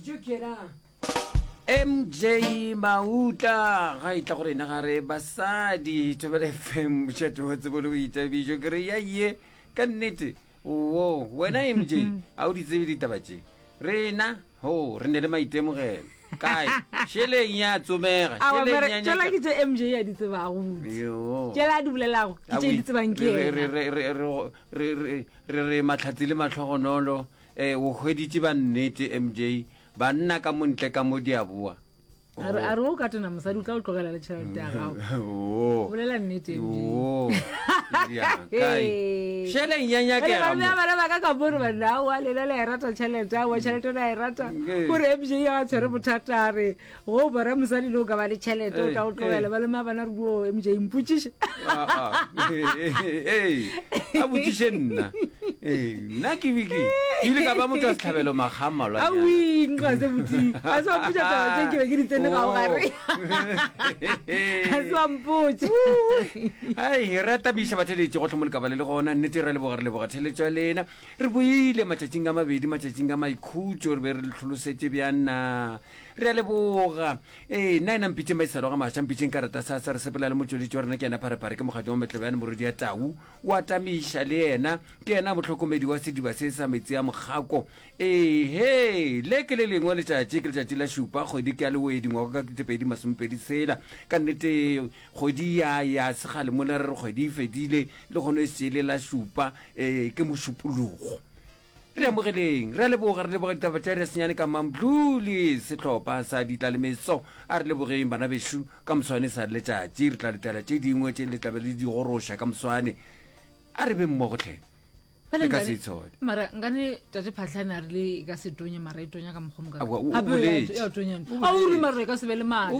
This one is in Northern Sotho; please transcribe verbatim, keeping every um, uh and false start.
Jo ke yena M J Mautla ga e tla go rena ga re basadi Thobela F M, mošate wa tsebo le boithabišo. Ke re ya ye ka nnete wo wena M J a o di tsebe ditaba tše. Rena ho re ne le maitemogelo kae, šeleng ya tsomega. Awa, šeleng mara ya tšela nyaka- ke tše M J ya di tsebago botse. Yo. Tšela a di bolelago ke tše di tsebang ke Re- re- yena. re- re- re- re- re re re mahlatsi le matlhogonolo um o hweditše ba nnete M J, banna ka montle ka mo di a boa. A re a re o ka tena mosadi o tla o tlogela le tšhelete ya gago. Oh. Bolela nnete, M J. Oh. Ya, kae šeleng ya nyakega mo. Bana ba ka ka bore banna aowa lena le a e rata tšhelete, aowa tšhelete le a e rata. Ee. Gore M J ya tshwere bothata a re go o bona mosadi le o ka ba le tšhelete o Ee, tla o tlogela. ee. Ba le mabana re buo M J mpotsiše. Ah, ah. Ee, a botšiše nna. Ee, nna ke be ke ke ile ka ba motho wa setlhabelo makga a mmalwanyana. Aowi nka se botsi a se wampotša taba tse ke be ke di tsene ga o gare a se wampotše. Ai, re atabiša batheletši go tlhomo lekaba le le gona. Nnete re leboga, re leboga theletšo ya lena. Re boile matšatšing a mabedi, matšatšing a maikhutšo re be re le tlholosetše bjana. Re a leboga. Ee, nna ena mpitseng maisalo ga maša, mpitseng ka rata sasa. Re sepela le motšweletši wa rena, ke yena Pharephare, ke mokgatlo wa Metlebjane morodi ya tau o atamiša le yena, ke yena mohlokomedi wa sediba se sa metsi a mokgako. Ee, he le ke le lengwe letšatši, ke letšatši la šupa kgwedi ke ya Lewedi ngwaga ka ketepedi masomepedi tshela. Ka nnete kgwedi ya ya segale mola re re kgwedi e fedile le kgono e sele la šupa um ke mošupologo. Re amogeleng, re a leboga, re leboga ditaba tša re senyane ka Mamdluli, sehlopha sa ditlalemetso. A re lebogeng bana bešo. Ka moswane sa re letšatši re tla letela tše dingwe tše le tlabe le di goroša ka moswane. A re be mmogo tlhe, le ka se itshole. Mara nkane tate Phatlhane a re le e ka se tonye, mara e tonya ka mokgwa Aowa, o- o boletše. Ya tonya. O A o re boletše. mara e ka se be le maatla.